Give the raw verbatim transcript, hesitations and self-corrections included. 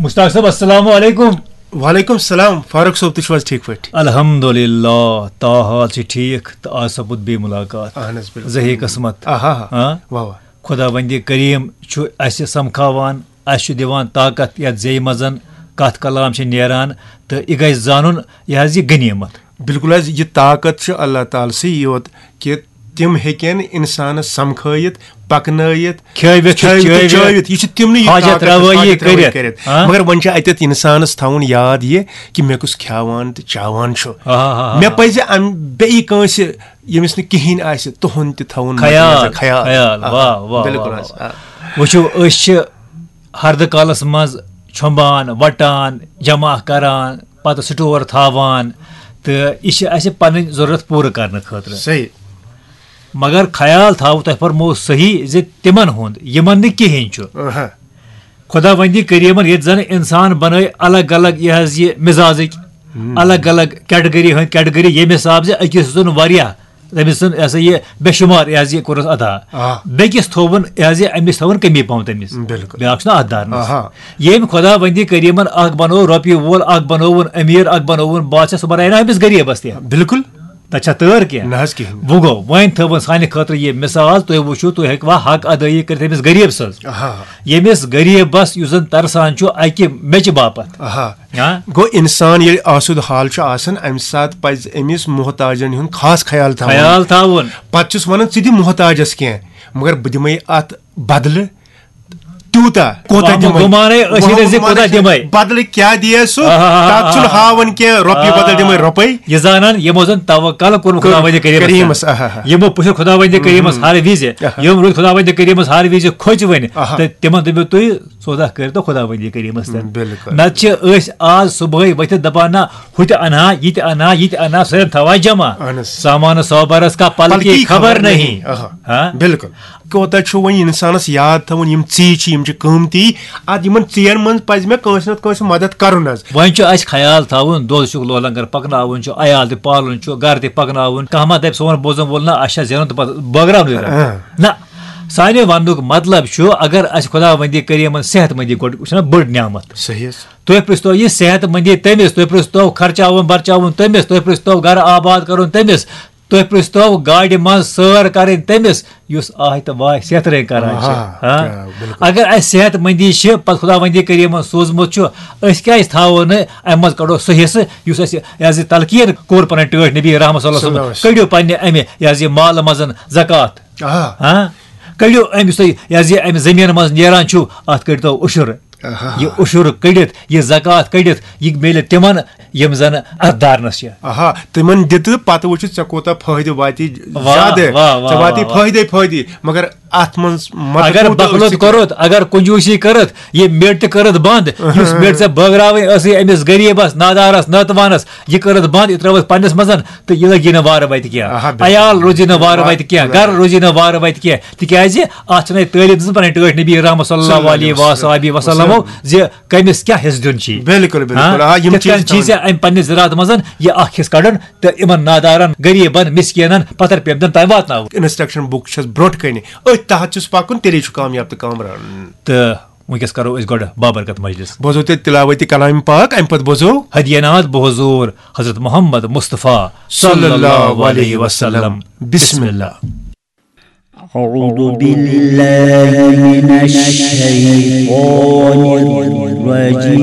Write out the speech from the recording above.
مشتاق صٲب، السلام علیکم۔ وعلیکم السلام فاروق صٲب، تُہۍ چھِو حظ ٹھیٖک پٲٹھۍ؟ الحمدللہ، تاحال چھِ ٹھیٖک تہٕ آز سپُد بیٚیہِ مُلاقات۔ اہن حظ، بِلکُل۔ زہے قٕسمت۔ آہا ہا۔ ہاں؟ واہ واہ۔ خۄداوندِ کریم چھُ اَسہِ سمکھاوان، اَسہِ چھُ دِوان طاقت، یَتھ زیٚیہِ منٛز کَتھ کلام چھِ نیران، تہٕ یہِ گژھِ زانُن، یہِ حظ یہِ غنیٖمت۔ بِلکُل حظ، یہِ طاقت چھُ اللہ تعالیٰ سٕے یوت کہِ تِم ہیٚکن اِنسانَس سمکھٲیِتھ، پَکنٲیِتھ، کھیٲوِتھ تہٕ کھیٲوِتھ تہٕ چٲوِتھ، چٲوِتھ۔ یہِ چھِ تِمنٕے یہِ حاجت طاقت، رَوٲیی حاجت رَوٲیی کٔرِتھ۔ کٔرِتھ۔ ہاں؟ مگر وۄنۍ چھِ اَتٮ۪تھ اِنسانَس تھاوُن یاد یہِ کہِ مےٚ کُس کھٮ۪وان تہٕ چاوان چھُ۔ آ، آ، آ، آ۔ مےٚ پَزِ اَمہِ بیٚیہِ کٲنٛسہِ ییٚمِس نہٕ کِہیٖنۍ آسہِ، تُہُنٛد تہِ تھاوُن مَدِ خیال، نظر، خیال۔ خیال، آ، واہ، واہ، بِلکُل واہ، حظ۔ واہ۔ آ۔ وٕچھِو، أسۍ چھِ ہردٕ کالَس منٛز چھۄمبان، وَٹان، جمع کران، پَتہٕ سٹور تھاوان، تہٕ یہِ چھِ اَسہِ پَنٕنۍ ضروٗرت پوٗرٕ کرنہٕ خٲطرٕ۔ صحیح۔ مگر خیال تھاوو تۄہہِ فرموو صحیح زِ تِمن ہُنٛد، یِمن نہٕ کِہیٖنۍ چھُ۔ آہا۔ خۄداوندِ کریٖمن ییٚتہِ زن انسان بنٲے الگ الگ، یہِ حظ یہِ مزازٕکۍ الگ الگ کیٹگری ہٕنٛدۍ کیٹگری، ییٚمہِ حساب زِ أکِس زن واریاہ، تٔمِس زن یہِ ہسا یہِ بے شُمار یہِ حظ یہِ کوٚرُس عطا۔ آ۔ بیٚکِس تھووُن یہِ حظ یہِ، أمِس تھووُن کمی پہم تٔمِس۔ بِلکُل۔ بیٛاکھ چھُنہ اتھ دارنس۔ آہا۔ ییٚمۍ خۄداوندِ کریٖمن اکھ بنوو رۄپیہِ وول، اکھ بنووُن امیر، اکھ بنووُن بادشاہ، سُہ بنایہِ نہ أمِس غریٖبس تہِ۔ بِلکُل۔ تتہِ چھا تٲر کینٛہہ؟ نہ حظ کِہیٖنۍ۔ وۄنۍ گوٚو، وۄنۍ تھٲوٕن سانہِ خٲطرٕ یہِ مثال، تُہۍ وٕچھِو، تُہۍ ہیٚکوا حق ادٲیی کٔرِتھ أمِس غریٖب سٕنٛز؟ آہا۔ ییٚمِس غریٖبس یُس زن ترسان چھُ اکہِ میٚژِ باپتھ۔ آہا۔ ہاں؟ گوٚو، انسان ییٚلہِ آسودٕ حال چھُ آسان، امہِ ساتہٕ پزِ أمِس محتاجن ہُنٛد خاص خیال تھاوُن۔ خیال تھاوُن۔ پتہٕ چھُس ونان، ژٕ دِ محتاجس کینٛہہ، مگر بہٕ دِمے اتھ بدلہٕ تیوٗتاہ، کوٗتاہ وہمہٕ دِمے؟ گُمانے أسۍ وہمہٕ ییٚلہِ زِ کوٗتاہ گُمانے چھُ۔ دِمے؟ بدلہٕ کیٛاہ دِیے سُہ؟ آہا۔ تتھ چھُنہٕ ہاوان کینٛہہ، رۄپیہِ بدل دِمے رۄپے۔ یہِ زانان یِمو زن توکل کوٚرمُت خۄداوندِ کریٖمس۔ کریٖمس، آہا۔ یِمو پُشُر خۄداوندِ کریٖمس ہر وِزِ، آہا۔ یِم روٗدۍ خۄداوندِ کریٖمس ہر وِزِ کھوژوٕنۍ۔ آہا۔ تہٕ تِمن دٔپِو تُہۍ، سودا کٔرۍ تو خۄداوندِ کریٖمس تل۔ بِلکُل۔ نتہٕ چھِ أسۍ آز صبحٲے ؤتھِتھ دپان، نہ، ہُہ تہِ انہا، یہِ تہِ انہا، یہِ تہِ انہا، سٲلِم تھاوان جمع۔ اہن حظ۔ سامان سوبرس کا پل کی خبر نہیں۔ آہا۔ ہاں؟ بِلکُل۔ کوتاہ چھُ وۄنۍ انسانس یاد تھاوُن، یِم ژیٖرۍ چھِ، یِم چھِ قۭمتی۔ اتھ یِمن ژیٖرٮ۪ن منٛز پزِ مےٚ کٲنٛسہِ نتہٕ کٲنٛسہِ مدد کرُن حظ۔ وۄنۍ چھُ اسہِ خیال تھاوُن، دۄد چھُکھ لولنگر پکناوُن چھُ، عیال تہِ پالُن چھُ، گرٕ تہِ پکناوُن۔ کانٛہہ ما دپہِ، سون بوزن وول، نہ، اسہِ چھا زینُن تہٕ پتہٕ بٲگراونٕے زن۔ اہن۔ نہ، سانہِ وننُک مطلب چھُ، اگر اسہِ خۄداوندِ کریٖمن صحت مندی گۄڈٕ، یہِ چھُنہ بٔڑ نعمت۔ صحیح حظ۔ تُہۍ پرٛژھتو یہِ صحت مندی تٔمِس، تُہۍ پرٛژھتو خرچاوُن برچاوُن تٔمِس، تُہۍ پرٛژھتو گرٕ آباد کرُن تٔمِس، تُہۍ پرٛژھتو گاڑِ منٛز سٲر کرٕنۍ تٔمِس، یُس آہہِ تہٕ واہہِ صحت رٔنٛگۍ کران چھِ۔ آ، ہاں؟ کیٛاہ، بِلکُل۔ اگر اسہِ صحت مندی چھِ، پتہٕ خۄداوندِ کریٖمن سوٗزمُت چھُ، أسۍ کیازِ تھاوو نہٕ امہِ منٛز کڑو سُہ حصہٕ یُس اسہِ، یہِ حظ یہِ تلقین کوٚر پنٕنۍ ٹٲٹھۍ نبی رحمت صلی اللہ علیہ وسلم، صلی اللہ علیہ وسلم۔ کٔڑِو پننہِ امہِ، یہِ حظ یہِ مالہٕ منٛز زکوٰۃ۔ آ۔ ہاں؟ کٔڑِو امہِ، یُس تۄہہِ، یہِ حظ یہِ امہِ زٔمیٖنہٕ منٛز نیران چھُو، اتھ کٔڑۍتو عُشُر۔ آہا۔ یہِ عُشُر کٔڑِتھ، یہِ زکوٰۃ کٔڑِتھ، یہِ میلہِ تِمن یِم زن اتھ دارنس چھِ۔ آہا، تِمن دِ تہٕ پتہٕ وٕچھِ ژےٚ کوٗتاہ فٲیدٕ واتی۔ واہ، زیادٕ۔ واہ، واہ، ژےٚ واتی واہ، واہ۔ فٲیدے فٲیدٕ، مگر اتھ منٛز مت اگر کوٗتاہ بخلت أسۍ کوٚرُتھ، اگر کنجوٗسی کٔرٕتھ، یہِ میٚٹ تہِ کٔرٕتھ بنٛد، یُس میٚٹ ژےٚ بٲگراوٕنۍ ٲسٕے أمِس غریٖبس، نادارس، نٲتوانس، یہِ کٔرٕتھ بنٛد، یہِ ترٲوٕتھ پننِس منٛز، تہٕ یہِ لگی نہٕ وارٕ وتہِ کینٛہہ۔ آہا، بِلکُل۔ عیال روزی نہٕ وارٕ وتہِ کینٛہہ، بِلکُل۔ گرٕ روزی نہٕ وارٕ وتہِ کینٛہہ، تِکیازِ اتھ چھنہٕ تعلیٖم دِژمٕژ پننہِ ٹٲٹھۍ نبی رحمت صلی اللہ علیہ وآلہ وسلمو زِ کٔمِس کیٛاہ حصہٕ دیُن چھُ۔ بِلکُل، بِلکُل۔ ہاں؟ آ، یِم کِتھ چیٖز کٔنۍ چھِ چھِ تھاوٕنۍ۔ ژےٚ امہِ پننہِ زِراعت منٛز یہِ اکھ حصہٕ کڑُن تہٕ یِمن نادارن، غریٖبن، مسکیٖنن، پتھر پیمدن تام واتناوُن۔ انسٹرکشن بُک چھس برونٛٹھ کنہِ، أتھۍ تحت چھُس پکُن، تیٚلے چھُ کامیاب تہٕ کامران۔ تہٕ وٕنکیٚس کرو أسۍ گۄڈٕ بابرکت مجلس۔ بوزو تیٚلہِ تلاوتِ کلام پاک، امہِ پتہٕ بوزو۔ ہدیہ ناتھ بحضور حضرت محمد مصطفیٰ صلی اللہ علیہ وسلم۔ بسم اللہ۔ أعوذ بالله من الشيطان الرجيم.